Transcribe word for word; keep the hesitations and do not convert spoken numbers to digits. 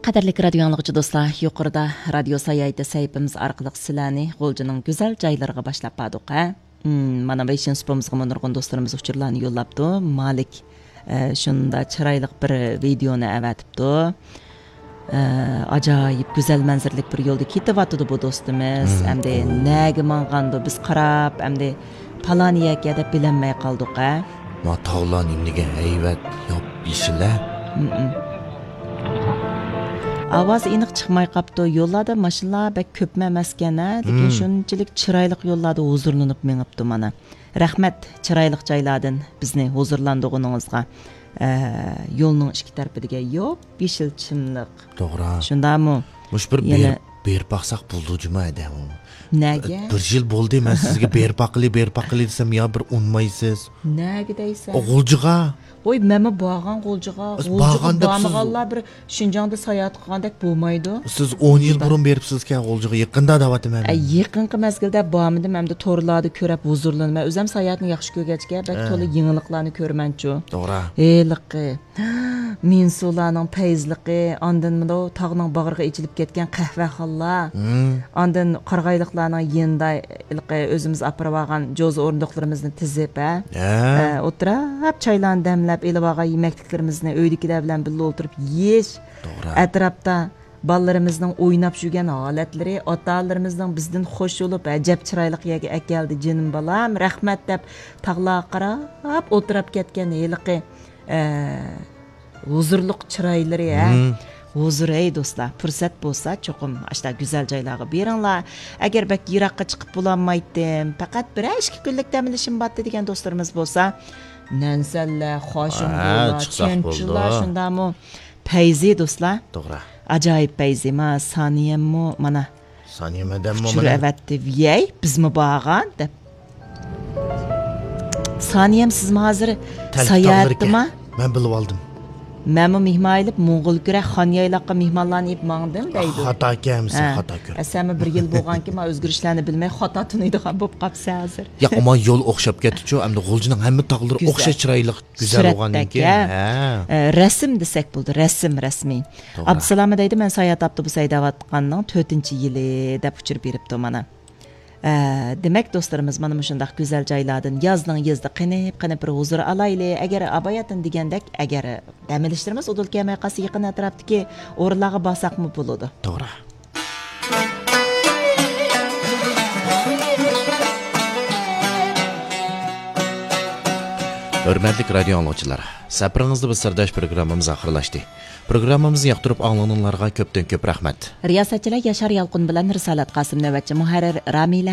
قەدىرلىك رادىيو ئاڭلىغۇچى دوستلار، يۇقىرىدا رادىيو ساياھىتى سەھىپىمىز ئارقىلىق سىلەرنى غۇلجىنىڭ گۈزەل جايلىرىغا باشلاپ باردۇق، ھە؟ مم، مانا بېشىنچى سۇپىمىزغىمۇ نۇرغۇن دوستلىرىمىز ئۇچۇرلارنى يوللاپتۇ. مالىك، ئە، شۇنداق چىرايلىق بىر ۋىدېئونى ئەۋەتىپتۇ. ئە، ئاجايىپ گۈزەل مەنزىرىلىك بىر يولدا كېتىۋاتىدۇ بۇ دوستىمىز. مم. ئەمدى نەگە ماڭغاندۇ بىز قاراپ، ئەمدى پالان يەرگە دەپ بىلەلمەي قالدۇق، ھە؟ ما تاغلار نېمىگە ھەيۋەت، ياپيېشىل، ھە؟ مم. ئاۋازى ئېنىق چىقماي قاپتۇ. يوللاردا ماشىنىلار بەك كۆپمۇ ئەمەسكەن، ھە؟ لېكىن مم. شۇنچىلىك چىرايلىق يوللاردا ھۇزۇرلىنىپ مېڭىپتۇ مانا. رەھمەت، چىرايلىق جايلاردىن بىزنى ھۇزۇرلاندۇرغىنىڭىزغا. ئە، يولنىڭ ئىككى تەرىپىدىكى ياپيېشىل چىملىق. توغرا. شۇنداقمۇ؟ مۇشۇ بىر يەنە بېرىپ، بېرىپ باقساق بولىدۇ جۇما ئەدە ئۇ. نەگە؟ بىر يىل بولدى، مەن سىزگە بېرىپ باققىلى، بېرىپ باققىلى دېسەم، يا بىر ئۇنىمايسىز. نەگە دەيسەن؟ ئۇ غۇلجىغا. ۋوي، مەنمۇ بارغان غۇلجىغا. غۇلجىغا بارغاندا بارمىغانلار بىر شىنجاڭدا ساياھەت قىلغاندەك بولمايدۇ. سىز ئون يىل بۇرۇن بېرىپسىزكەن غۇلجىغا، يېقىندا دەۋاتىمەن ئە، مەن. يېقىنقى مەزگىلدە بارمىدىم، ئەمدى تورلاردا كۆرۈپ ھۇزۇرلىنىمەن. ئۆزۈم ساياھەتنى ياخشى كۆرگەچكە، بەك ھە. تولا يېڭىلىقلارنى كۆرىمەنچۇ. توغرا. ھېلىقى مىنسۇلارنىڭ پەيزلىقى، ئاندىن مۇنداق تاغنىڭ باغرىغا ئېچىلىپ كەتكەن قەھۋەخانىلار، مم. ئاندىن قارىغايلىقلارنىڭ يېنىدا ھېلىقى ئۆزىمىز ئاپىرىۋالغان جوزا ئورۇندۇقلىرىمىزنى تىزىپ، ھە؟ ھە. ئە، ئولتۇراپ چايلارنى دەملەپ، ئېلىۋالغان يېمەكلىكلىرىمىزنى ئۆيدىكىلەر بىلەن بىللە ئولتۇرۇپ يېيىش. توغرا. ئەتراپتا بالىلىرىمىزنىڭ ئويناپ يۈرگەن ھالەتلىرى، ئاتا-ئانىلىرىمىزنىڭ بىزدىن خوش بولۇپ، «ئەجەب چىرايلىق يەرگە ئەكەلدى جېنىم بالام، رەھمەت» دەپ تاغلارغا قاراپ ئولتۇراپ كەتكەن ھېلىقى، ئە، ھۇزۇرلۇق چىرايلىرى، ھە؟ مم. ھۇزۇر، ئەي دوستلار، پۇرسەت بولسا چوقۇم ئاشۇنداق گۈزەل جايلارغا بېرىڭلار. ئەگەر بەك يىراققا چىقىپ بولالمايتتىم، پەقەت بىرەر ئىككى كۈنلۈك دەم ئېلىشىم بارتتى دېگەن دوستلىرىمىز بولسا، نەنسەنلەر، خاشۇڭلۇلار، ھە، چىقساق چۈەنچۈلار، بولىدۇ. شۇنداقمۇ؟ پەيزى دوستلار. توغرا. ئاجايىپ پەيزى، ما سانىيەممۇ مانا سانىيە مەدەممۇ ئۇچۇر مانا ئەۋەتتى. ۋىيەي، بىزمۇ بارغان دەپ. سانىيەم، سىزمۇ ھازىر تەلپە ساياھەتتىما؟ تاغلىرىكەن. مەن بىلىۋالدىم. مەنمۇ مېھمان ئېلىپ، موڭغۇلكۈرە، خانيايلاققا مېھمانلارنى ئېلىپ ماڭدىم دەيدۇ. خاتا ئىكەنمىسەن، ھە. خاتا كۆر. ئە، سەنمۇ بىر يىل بولغانكىن، ما ئۆزگىرىشلەرنى بىلمەي، خاتا تونۇيدىغان بولۇپ قاپسەن ھازىر. ياق، ئاما يول ئوخشاپ كەتتىچۇ، ئەمدى غۇلجىنىڭ ھەممە تاغلىرى گۈزەل. ئوخشاش چىرايلىق، گۈزەل سۈرەتتەك، بولغاندىن كېيىن. ھە. ھە. ئە، رەسىم دېسەك بولدى، رەسىم، رەسمىي. توغرا. ئابدۇسالامى دەيدۇ، مەن ساياھەت ئاپتوبۇسى ھەيدەۋاتقاننىڭ تۆتىنچى يىلى دەپ ئۇچۇر بېرىپتۇ مانا. ئە، دېمەك، دوستلىرىمىز مانا مۇشۇنداق گۈزەل جايلاردىن يازنىڭ يېزىدا قېنىپ، قېنىپ بىر ھۇزۇر ئالايلى. ئەگەر ئاباياتىن دېگەندەك، ئەگەر دەم ئېلىشلىرىمىز ئۇدۇل كەلمەي قالسا، يېقىن ئەتراپتىكى ئورۇنلارغا بارساقمۇ بولىدۇ. توغرا. ھۆرمەتلىك رادىيو ئاڭلىغۇچىلار، سەپىرىڭىزدە بىز سىرداش پروگراممىمىز ئاخىرلاشتى. پروگراممىمىزنى ياقتۇرۇپ ئاڭلىغىنىڭلارغا كۆپتىن كۆپ رەھمەت. رىياسەتچىلەر ياشار يالقۇن بىلەن رىسالەت قاسىم، نۆۋەتچى مۇھەررىر رامىلە